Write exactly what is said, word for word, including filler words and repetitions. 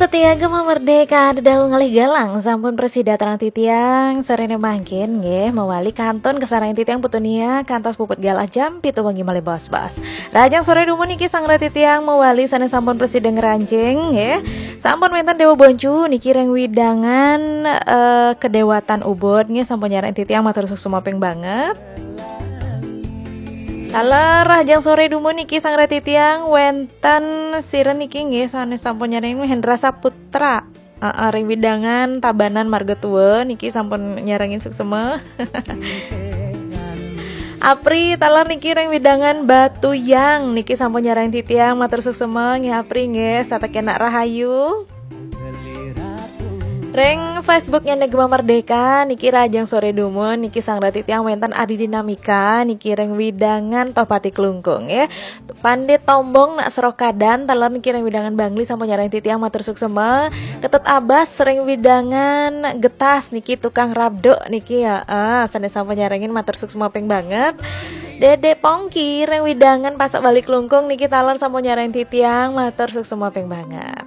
Setia Gema Merdeka, ada dalu ngalih galang, sampun prasida titiang, sorene mangkin nggih, mawali kantun kasarengin titiang Putu Nia, kantos puput galah jam pitu wengi malih bos-bos. Rahajeng sore dumun niki sareng titiang mawali sane sampun prasida ngranjing nggih. Sampun wenten Dewa Boncu niki ring wewidangan, eh, Kedewatan Ubud nggih, sampun nyarengin titiang, matur suksma ping banget. Taler rahajeng sore dumun niki sareng titiang wenten sira niki nggih, sane sampun nyarengin, Hendra Saputra. Aa, ring wewidangan Tabanan Marga Tua niki sampun nyarengin, suksma. Apri taler niki ring wewidangan Batu Yang niki sampun nyarengin titiang, matur suksma nggih Apri nggih, setata kenak rahayu. Ring Facebooknya Negma Merdeka niki rahajeng sore dumun niki sareng titiang wenten Adi Dinamika niki ring wewidangan Tohpati Klungkung nggih. Pandit Tombong nak Serokadan, taler niki ring wewidangan Bangli sampun nyarengin titiang, matur suksma. Ketut Abas ring wewidangan Getas niki, tukang rabduk niki ya. Ah, sane sampun nyarengin, matur suksma ping banget. Dede Pongki ring wewidangan Pasak Bali Klungkung niki taler sampun nyarengin titiang, matur suksma ping banget.